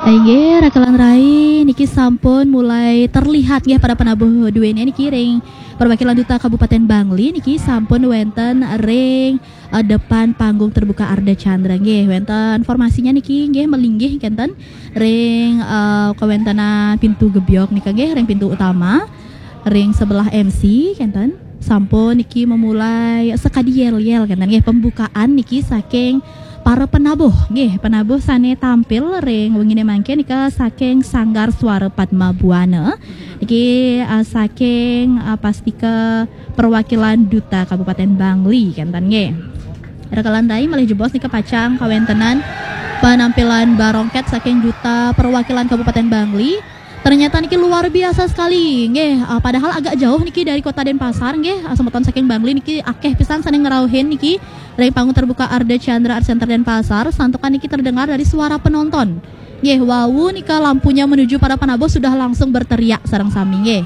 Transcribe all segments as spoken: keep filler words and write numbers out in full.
Inggih, rakelan rai, niki sampun mulai terlihat nggih para penabuh duene niki ring perwakilan Duta Kabupaten Bangli niki sampun wenten ring eh, depan panggung terbuka Ardha Candra nggih. Wenten formasinya niki nggih melinggih kenten ring eh, kawentenan pintu gebyok nika nggih ring pintu utama ring sebelah M C kenten. Sampun niki memulai sekadi yel-yel kenten nggih pembukaan niki saking para penabuh nggih, penabuh sane tampil ring wengine mangkin nika saking Sanggar Suara Padma Buana niki uh, saking uh, pastika perwakilan Duta Kabupaten Bangli kenten nggih. Rakelan rai malih jebos nika pacang kawentenan penampilan barongket saking Duta Perwakilan Kabupaten Bangli. Ternyata niki luar biasa sekali nggih. Uh, padahal agak jauh niki dari Kota Denpasar nggih. Uh, semeton saking Bangli niki akeh pisan sane ngrauhin niki ring panggung terbuka Ardha Candra Art Center Denpasar. Santukan niki terdengar dari suara penonton. Nggih, wau nika lampunya menuju para penabuh sudah langsung berteriak sareng sami nggih.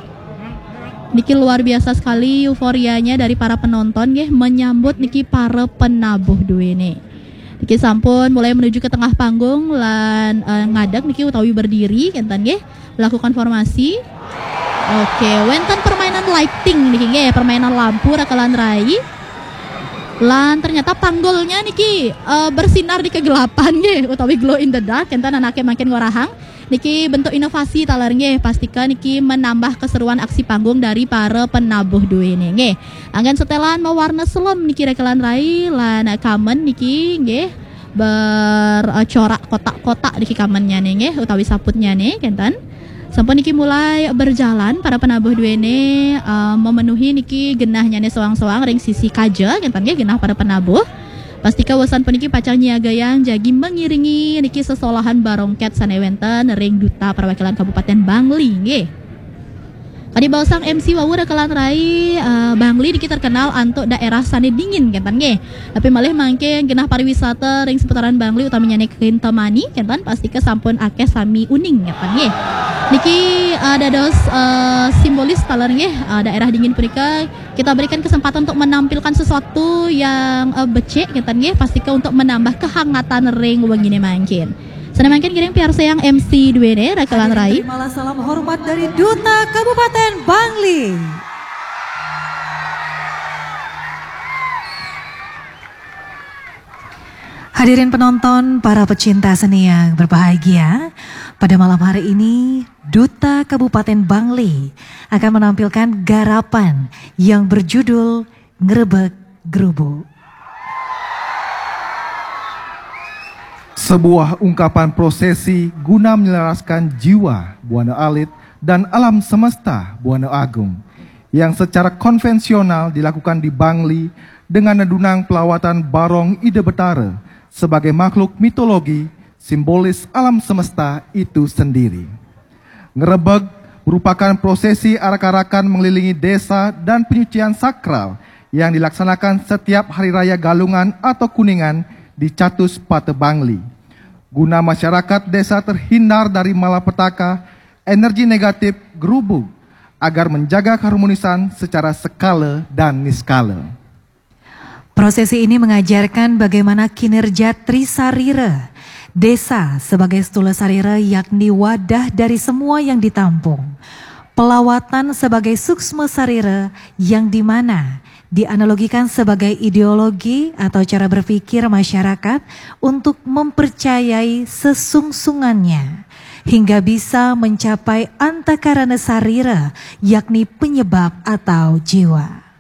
Niki luar biasa sekali euforianya dari para penonton nggih menyambut niki para penabuh duene. Niki sampun mulai menuju ke tengah panggung lan eh, ngadeg niki utawi berdiri kenten nggih. Lakukan formasi. Oke, wenten permainan lighting niki nggih, permainan lampu rakelan rai. Lan ternyata panggulnya niki eh, bersinar di kegelapan nggih utawi glow in the dark kenten anake mangkin ngorahang. Niki bentuk inovasi taler nggih, pastika niki menambah keseruan aksi panggung dari para penabuh duene nggih. Anggen setelan mawarna selem niki rakelan rai lan kamen niki nggih bercorak kotak-kotak niki kamennya nggih utawi saputnya kenten. Sampun niki mulai berjalan para penabuh duene eh, memenuhi niki genahnya soang-soang ring sisi kaja kenten nggih genah para penabuh. Pastika wesan puniki pacang nyiagayang jagi mengiringi niki sesolahan barongket sane wenten ring Duta Perwakilan Kabupaten Bangli nggih. Kadi baosang M C wau rakelan rai eh, Bangli niki terkenal antuk daerah sane dingin kenten nggih. Tapi malih mangke genah pariwisata ring seputaran Bangli utamanya ning Kintamani kenten pastika sampun akeh sami uning kenten nggih. Niki eh, dados eh, simbolis taler nggih eh, daerah dingin punika kita berikan kesempatan untuk menampilkan sesuatu yang uh, becik kenten nggih pastika untuk menambah kehangatan ring wengine mangkin. Sane mangkin ngiring piarsayang M C duene rakelan rai. Terimalah salam hormat dari Duta Kabupaten Bangli. Hadirin penonton, para pecinta seni yang berbahagia, pada malam hari ini Duta Kabupaten Bangli akan menampilkan garapan yang berjudul Ngrebek Gerubu. Sebuah ungkapan prosesi guna menyelaraskan jiwa Buana Alit dan alam semesta Buana Agung yang secara konvensional dilakukan di Bangli dengan nedunang pelawatan Barong Ida Betara sebagai makhluk mitologi simbolis alam semesta itu sendiri. Ngerebeg merupakan prosesi arak-arakan mengelilingi desa dan penyucian sakral yang dilaksanakan setiap Hari Raya Galungan atau Kuningan di Catus Pate Bangli. Guna masyarakat desa terhindar dari malapetaka, energi negatif gerubug, agar menjaga keharmonisan secara sekala dan niskala. Prosesi ini mengajarkan bagaimana kinerja Trisarira, desa sebagai stula sarira yakni wadah dari semua yang ditampung. Pelawatan sebagai suksma sarira yang dimana dianalogikan sebagai ideologi atau cara berpikir masyarakat untuk mempercayai sesungsungannya hingga bisa mencapai antakarana sarira yakni penyebab atau jiwa.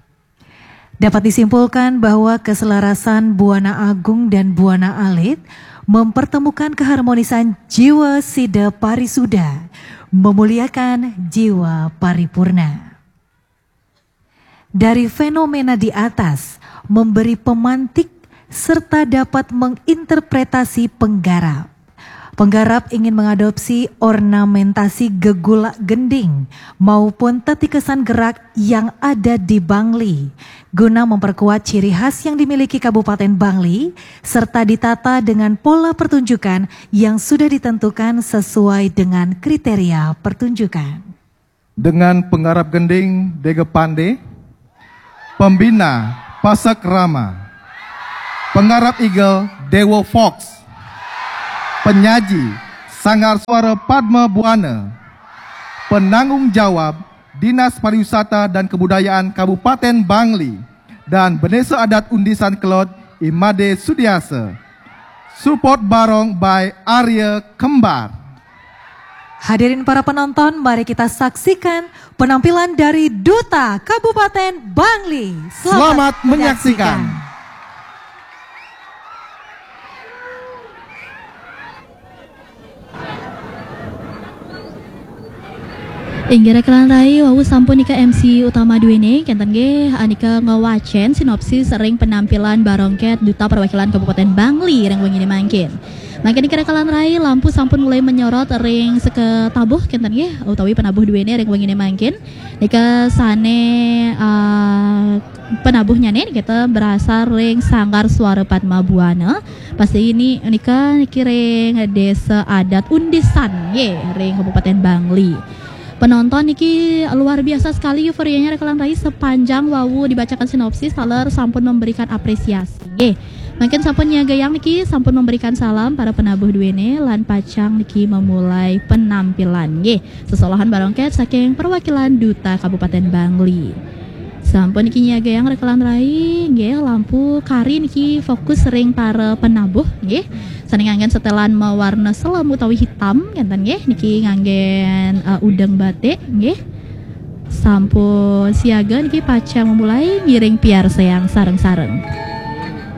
Dapat disimpulkan bahwa keselarasan Buana Agung dan Buana Alit mempertemukan keharmonisan jiwa sida parisuda, memuliakan jiwa paripurna. Dari fenomena di atas memberi pemantik serta dapat menginterpretasi penggarap. Penggarap ingin mengadopsi ornamentasi gegulak gending maupun tetikesan gerak yang ada di Bangli guna memperkuat ciri khas yang dimiliki Kabupaten Bangli serta ditata dengan pola pertunjukan yang sudah ditentukan sesuai dengan kriteria pertunjukan. Dengan penggarap gending Dega Pande, pembina Pasek Rama, penggarap igel Dewo Fox, penyaji Sanggar Suara Padma Buana. Penanggung jawab Dinas Pariwisata dan Kebudayaan Kabupaten Bangli dan Bendesa Adat Undisan Kelod Imade Sudiasa. Support barong by Arya Kembar. Hadirin para penonton, mari kita saksikan penampilan dari Duta Kabupaten Bangli. Selamat menyaksikan. Inggih rekan rai, wau sampun nika M C utama duene, kenten nggih, anika ngewacen sinopsis ring penampilan barongket Duta Perwakilan Kabupaten Bangli ring wengine mangkin. Mangkin nika rekan rai, lampu sampun mulai menyorot ring seka tabuh, kenten nggih, utawi penabuh duene ring wengine mangkin. Nika sane, ah, penabuhnyane nika berasal ring Sanggar Suara Padma Buana. Pasti ini nika niki ring Desa Adat Undisan, ye, ring Kabupaten Bangli. Penonton niki luar biasa sekali euforianya rekan rai sepanjang wau dibacakan sinopsis, taler sampun memberikan apresiasi. Ye. Mangkin sampun nyagayang niki sampun memberikan salam para penabuh duene lan pacang niki memulai penampilan. Ye. Sesolahan barongket saking perwakilan Duta Kabupaten Bangli. Sampun niki nyagayang rekan rai, nggih, lampu kari niki fokus ring para penabuh, nggih. Sane nganggen setelan mawarna selem utawi hitam, kenten nggih, niki nganggen, eh, udeng batik, nggih. Sampun siaga niki pacang memulai ngiring piarsayang sareng-sareng.